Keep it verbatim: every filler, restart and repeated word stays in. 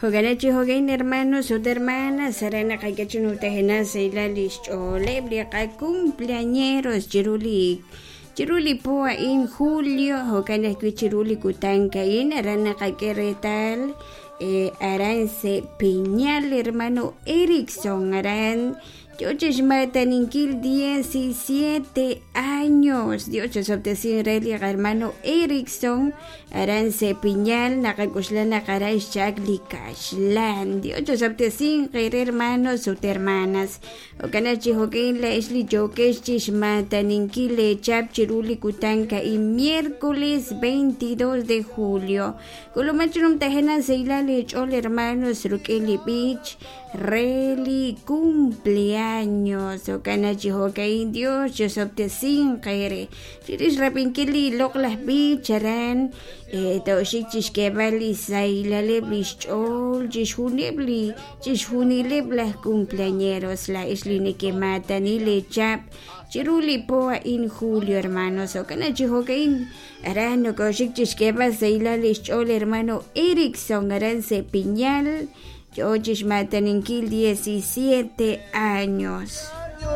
Jo'kan chi jo'kan hermanos ut hermanas aran naqak'e chi numtajenaq sahilal li xch'ooleb' li qacumpleañeros chiru li chiru li po a'in julio jo'kan ajwi' chiru li kutan a'in aran naqak'e reetal eh, aran se Piñal hermano Erickson aran Yo chixmataninkil diecisiete años. Dios chosoptesin re li hermano Erickson aran se Piñal naqak'uxla naqaray xchak li kaxlan. Dios chosoptesin qere hermanos ut hermanas. Jo'kan chi jo'kin la ix li yokex chixmataninkil lechap chiru li kutan ka'in miércoles veintidós de julio. Kulumachunum tajena seila lech'ol hermanos ruk'in li b'ich re li cumpleaños. Jo'kan chi jo'kain Dios chosoptesin qere. Chirix rapinkil li loq laj b'ich aran eh, toxik chixk'eeb'al li saylaleb' li xch'ool chixjunib' li chixjunileb' laj cumpleañeros la ix li nekematani lechap chiru li po a'in julio hermanos. Jo'kan chi jo'kain aran nokoxik chixk'eeb'al saylal li xch'ool hermano Erickson aran se Piñal yo chixmataninkil diecisiete años.